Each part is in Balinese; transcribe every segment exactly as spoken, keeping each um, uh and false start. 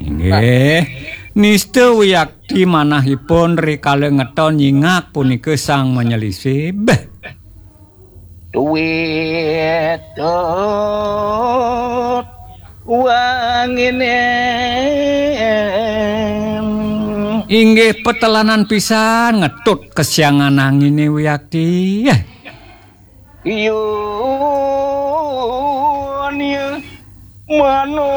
Inggih. Nista wiakti manahipun rikala ngeton nyingak punika sang manyelisib. Duit tut wanginem. Inggih petelanan pisan ngetut kesiangan angine wiakti. Yun ya manon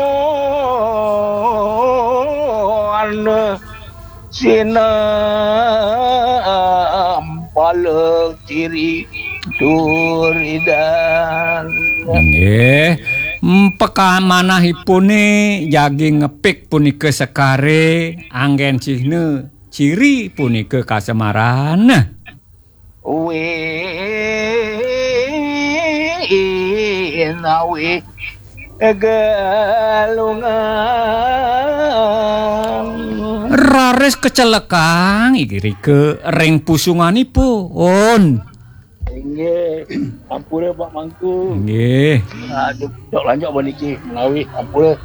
sinampala ciri turidan. Nggih, mpekamanahipune jagi ngepik punika sekare anggen cihna ciri punika kasemaran. Winawi galungan. Raris kecelekang irika ring pusunganipun. Inggih, ampura Pak Mangku. Inggih. Aduh, cok lanjut apa niki menawi ampura.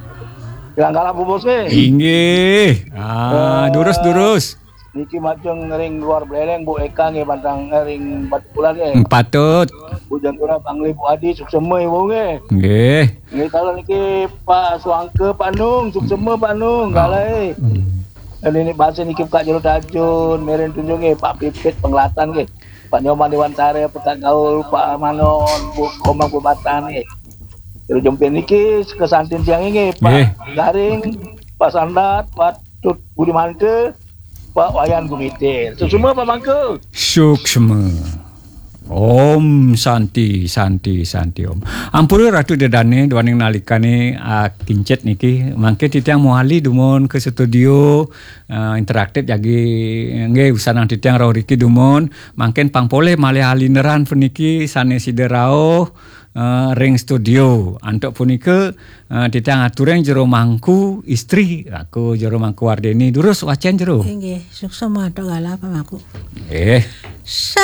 Bilang kalah bubus nih. Inggih. Ah, durus, durus. Niki majeng ring luar Belereng, Bu Eka nggih, bantang, eh, ring Batu Bulan nggih. Patut. Bu Jantura, Bangli, Bu Adi, suksema ibu nggih. Nggih. Nggih, kalau niki Pak Suangke, Pak Nung, suksema Pak Nung, galai. Hmm. Dan ini bahasa niki Pak Jero Tajun, Meren Tunjung nggih, Pak Pipit Pengelatan nggih. Pak Nyoman Dewantara, Pekat Gaul, Pak Manon, Bu Komang Pematan nggih. Jero Jempin niki kesantin tiang nggih, Pak Garing, Pak Sandat, Pak Tut Budi Mante, Pak Wayan Gumitir. Suksema Pak Mangku. Suksema. Om Santi, Santi, Santi Om. Ampura Ratu Dedane, duaning nalikane, ah, kincit niki. Mangke titiang mawali dumun ke studio, ah, interaktif jagi nggih usanang titiang rauh riki dumun. Mangkin pang polih malih alineran puniki sane sida rauh, eh, ring studio. Antuk punika, eh, titiang aturing Jero Mangku istri, aku Jero Mangku Wardeni. Durus wacen Jero. Inggih, suksema antuk galah Pak Mangku. Nggih.